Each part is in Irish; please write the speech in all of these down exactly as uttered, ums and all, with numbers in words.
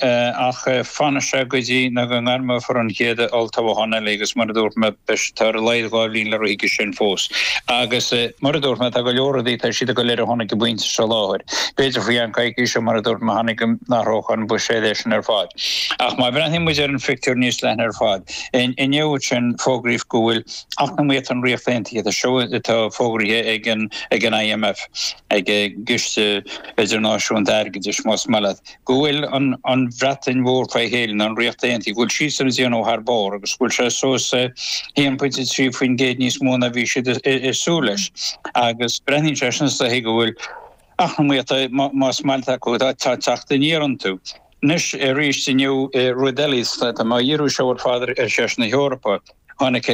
Ach fanfaidh sé go dtí nó go ngairmeofar an chéad olltoghchán eile agus mar a dúirt mé, beidh tá ar a laghad dhá bhliain le rith chuige sin fós. Agus mar a dúirt mé, tá go leor rudaí, tá siad ag dul ar a shon ag an bpointe seo láthair. B'fhéidir faoi cheann coicíse, mar a dúirt mé cheana, go n-athródh an buiséad é sin ar fad. Ach má bhreathnaíonn muid ar an phictiúr níos leithne ar fad, inniu ansin fógraíodh go bhfuil eacnamaíocht an Ríocht Aontaithe, tá seo atá fógraithe ag an ag an IMF, ag an gCiste Idirnáisiúnta Airgeadais, más maith leat, go bhfuil an an Bhreatain Mhór fé chéile, nó an Ríocht Aontaithe, go bhfuil siadsan ag déanamh thar barr agus go bhfuil sé suas haon pointe trí faoin gcéad níos mó ná bhí siad ag súil leis. Agus breathnaíonn sé sin is dóichí go bhfuil eacnamaíocht, más maith leat acu, tá teacht aniar iontu. Anois arís inniu rud eile, tá mé á dhíriú seo ar fad ar cheist na hEorpa, tháinig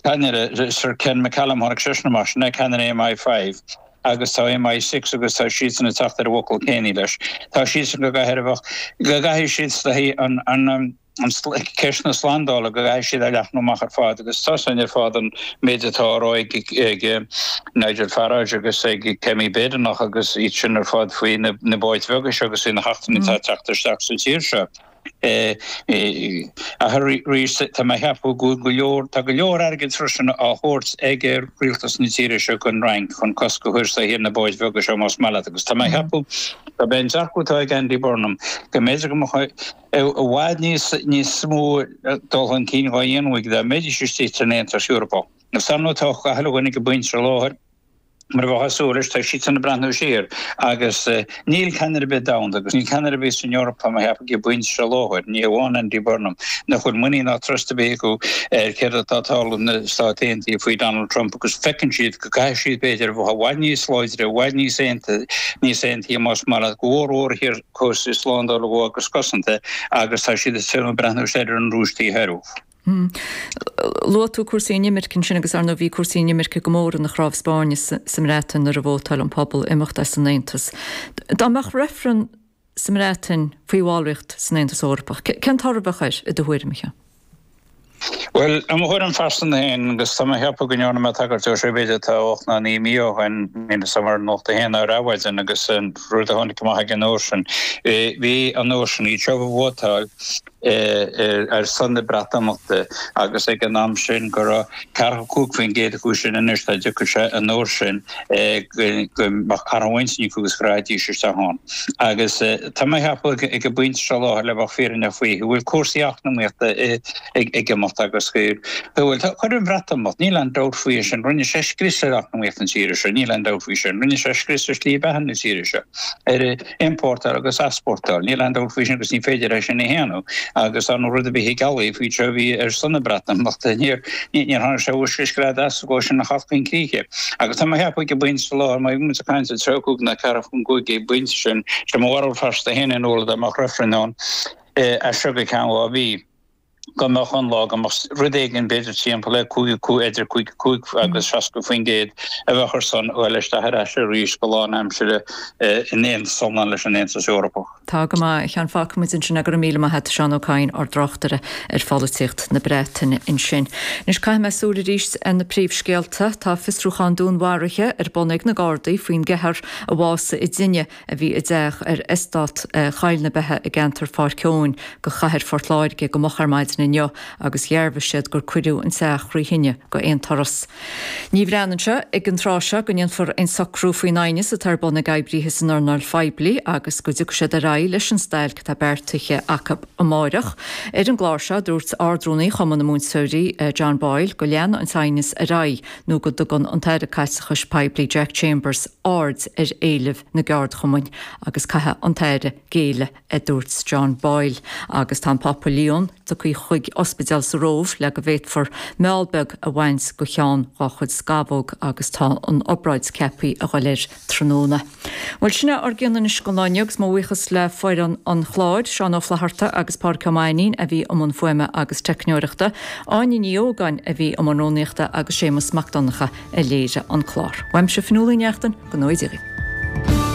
ceannaire Sir Ken McCallum, tháinig seisean amach, sin é ceannaire MI five, agus tá MI six agus tá siadsan ag teacht ar an bhfocal céanna leis. Tá siadsan go gcaithfidh a bheadh, go gcaithfidh siad is dóichí an, an, an ceist na slándála, go gcaithfidh siad a leathnú amach ar fad agus tá sin ar fad an méid atá á rá ag, ag Nigel Farage agus ag Kemi Badenoch agus iad sin ar fad faoi na, na báid bheaga seo agus faoi na heachtrannaigh atá ag teacht isteach sa tír seo. Ach arís, tá mé a cheapadh go bhfuil go leor, tá go leor airgid freisin á thabhairt ag rialtas na tíre seo don Fhrainc chun cosc a chur is dóichí ar na báid bheaga seo más maith leat agus tá mé a cheapadh gurb é an dearcadh atá ag Andy Burnham go mb'fhéidir go mbeadh i bhfad níos níos mó dul chun cinn dhá dhéanamh aige dá mbeidís istigh san Aontas Eorpach. Agus ar ndóigh tá gach uile dhuine ag an bpointe seo láthair. Mar a bheifeá ag súil leis, tá siadsan ag breathnú siar agus níl ceannaire ar bith domhanda agus níl ceannaire ar bith san Eoraip, tá mé a cheapadh, ag an bpointe seo láthair, ní hamháin Andy Burnham, nach bhfuil muinín ná trust ar bith acu ar céard atá ag tarlú sna Stáit Aontaithe faoi Donald Trump agus feiceann siad go gcaithfidh siad, b'fhéidir, a bheith i bhfad níos láidre, i bhfad níos níos aontaithe más maith leat, go mhór mhór thiar cúrsaí slándála agus cosanta agus tá siad ag breathnú soir ar an Rúis taobh thoir. Luaigh tú cúrsaí inimirce ansin agus ar ndóigh bhí cúrsaí inimirce go mór ina chnámh spáirne sa mBreatain nuair a vótáil an pobal imeacht as an Aontas. Dá mbeadh reifreann sa mBreatain faoi bhallraíocht san Aontas Eorpach, cén toradh a bheadh air, i do thuairim, a Sheáin? Bhuel, i mo thuairim phearsanta féin, agus tá mé a cheapadh go ndearna mé tagairt dó seo b'fhéidir tá ocht nó naoi mí ó shin, níl 'fhios a'm ar Nuacht a hAon nó ar Adhmhaidin, agus an rud a tháinig amach ag an uair sin, bhí an uair sin, iad seo a vótáil, ar son na Breatimeachta agus ag an am sin go raibh ceathracha cúig faoin gcéad acu sin anois dá dtiocfadh sé an uair sin go mbeadh athrú intinne acu agus go rachaidís isteach ann. Agus tá mé a cheapadh ag an bpointe seo láthair le bheith fírinneach faoi go bhfuil cúrsaí eacnamaíochta ag imeacht agus go bhfuil chuir an Bhreatimeacht, níl aon dabht faoi sin, rinne sé scrios ar eacnamaíocht na tíre seo, níl aon dabht faoi sin, rinne sé scrios ar shlí beatha na tíre seo. ar iompórtáil agus easpórtáil. Níl aon dabht faoi sin agus ní féidir é sin a shéanadh agus ar ndóigh rud a bith ag ealaí faoi seo a bhí ar son na Breatimeachta. Níor níor tháinig sé uisce scread as go sin a theacht chun críche. Agus tá mé a cheapadh ag an bpointe seo láthair, má bhí muid ag caint ar tríocha cúig nó ceathracha cúig ag an bpointe sin, sé mo bharúil phearsanta féin in iúl dá mbeadh reifreann ann as seo go ceann dhá mhí. go mbeadh an lá, go mbeadh rud éigin b'fhéidir timpeall le cúig, idir cúig cúig agus seasca faoin gcéad a bheadh ar son dul isteach ar ais arís go lánaimseartha in aontas iomlán leis an Aontas Eorpach. Tá go maith, a Sheáin. Fágfaidh muid ansin é. Go raibh míle maith agat, Seán Ó Cadhain, ár dtráchtaire ar pholaitíocht na Breataine ansin. Anois caithfidh mé súil arís ar na príomhscéalta. Tá fiosrúchán dúnmharaithe ar bun ag na Gardaí faoin gceathrar a bhásaigh i dtine a bhí i dteach ar Eastát Choill na Beithe i gceantar Pháirc Eoin go chathair Phort Láirge go moch ar maidin inniu agus dhearbhaigh siad gur cuireadh an teach thrí thine go aon turas. Ní bhreathnaíonn sé ag an tráth seo go ndéanfar aon socrú faoin aighneas atá ar bun ag oibríthe san earnáil phoiblí agus go dtiocfaidh siad ar aghaidh leis an stailc atá beartaithe acu amáireach. Ar an gclár seo dúirt Ard-Rúnaí Chumann na Múinteoirí John Boyle go leanfaidh an t-aighneas ar aghaidh nó go dtugann an tAire Caiteachais Poiblí Jack Chambers aird ar éilimh na gceardchumainn agus caithfidh an tAire géilleadh, a dúirt John Boyle. Agus tá an Pápa Leon tugtha chuig ospidéal sa Róimh le go bhféadfar meall beag a bhaint go cheann dá chuid scamhóg agus tá an obráid ceaptha a dhul air tráthnóna. Bhuel, sin é ár gcion anois don lá inniu agus mo bhuíochas le foireann an chláir, Seán Ó Flatharta agus Pádraic Ó Mainnín a bhí i mbun fuaime agus teicneoireachta, Áine Ní Ógáin a bhí i mbun rúnaíochta agus Séamus Mac Donncha a léirigh an clár. Uaimse Fionnuala Ní Neachtain, go ngnóthaí Dia dhaoibh.